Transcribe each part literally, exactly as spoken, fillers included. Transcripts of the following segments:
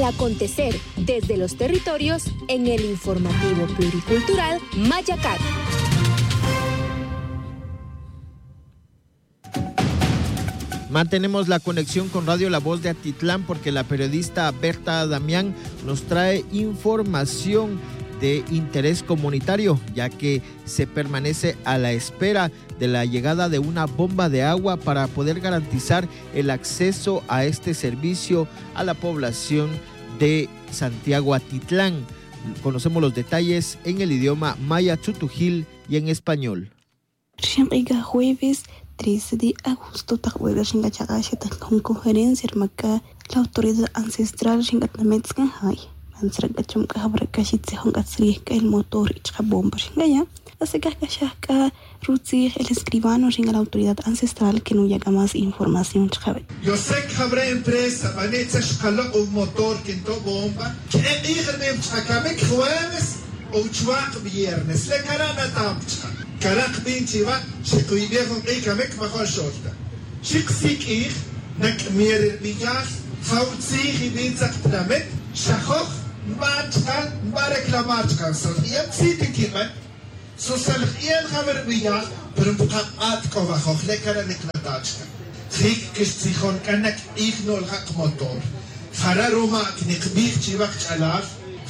Acontecer desde los territorios en el informativo pluricultural Mayacat. Mantenemos la conexión con Radio La Voz de Atitlán porque la periodista Berta Damián nos trae información de interés comunitario, ya que se permanece a la espera de la llegada de una bomba de agua para poder garantizar el acceso a este servicio a la población de Santiago Atitlán. Conocemos los detalles en el idioma maya chutujil y en español. Rixin k'a jueves trece de agosto, taq wera rixin k'a chaq'a' xetaj jun conferencia rma k'a la autoridad ancestral rixin k'a tinamit tz'an jay. Man tzra k'a cham k'a jawra k'a xitzijon k'a tzrij k'a el motor y chaq'a' bomba rixin k'a ya'. Así que k'a xaj k'a rutzij el escribano rixin k'a la autoridad ancestral que nuya' k'a más información chaq'a'. Yo sé que jawra empresa b'ane' tzaj xqaloq' un motor que nto' bomba. Ke'e q'ij rib'in chaq'a' kamik jueves o chuwaq' viernes. Le kara' natam chaq'a'. Kara' qb'in chiwa, xeqwib'ej jun q'ij kamik majo' xol ta. Xi qsi' q'ij, nak'mier ri rb'iyal, ja utzij ib'in tzaq tinamit, xa joj nb'an chaq'a', nb'an reclamar chaq'a', sol ya tzit nkib'an. Susal j'i'el ja wi rb'iyal, pero npqaq'at k'o wajoj, le kara' niqnata' chaq'a'. Jik kixtzijon k'a nak'ij nu'lja' qmotor. Jara' ruma' kniqb'ij chiwa qch'alal,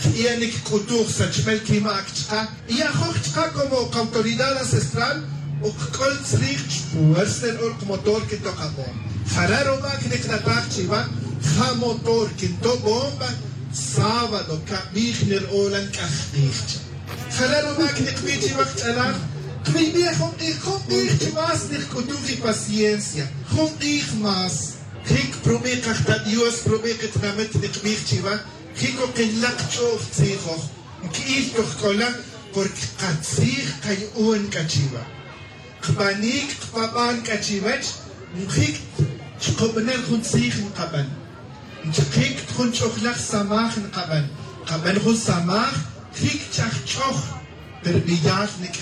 j'i'el nikik'utuj sachb'el kimaak chaq'a', y ajoj chaq'a' como qautoridad ancestral, o qk'ol tzrij chpuersa ri rq'or qmotor kinto' qab'on. Jara' ruma' kniqnataj chiwa, ja motor kinto' bomba, sábado, kab'ij nir'olan k'aj q'ij chaq'a'. Jala' ruma' kniqbij chiwa qch'alal, qb'ib'ej jun q'ij, jun q'ij chi más niqk'utuj ipaciencia, jun q'ij más. Jik prub'i' qajta' Dios, prub'i' qitinamit niqbij chiwa, jik k'o qinlaq ch'o'j tzijoj, nki'iy toj k'ola, porque qatzij qayu'un k'a chiwa. Qb'anik qpab'an k'a chiwech, njik' chqub'anel jun tzij nqab'an. Nchaqik jun ch'ojlaj samaj nqab'an. Qab'an jun samaj, jik' ch'ajch'oj ri rb'iyal nik'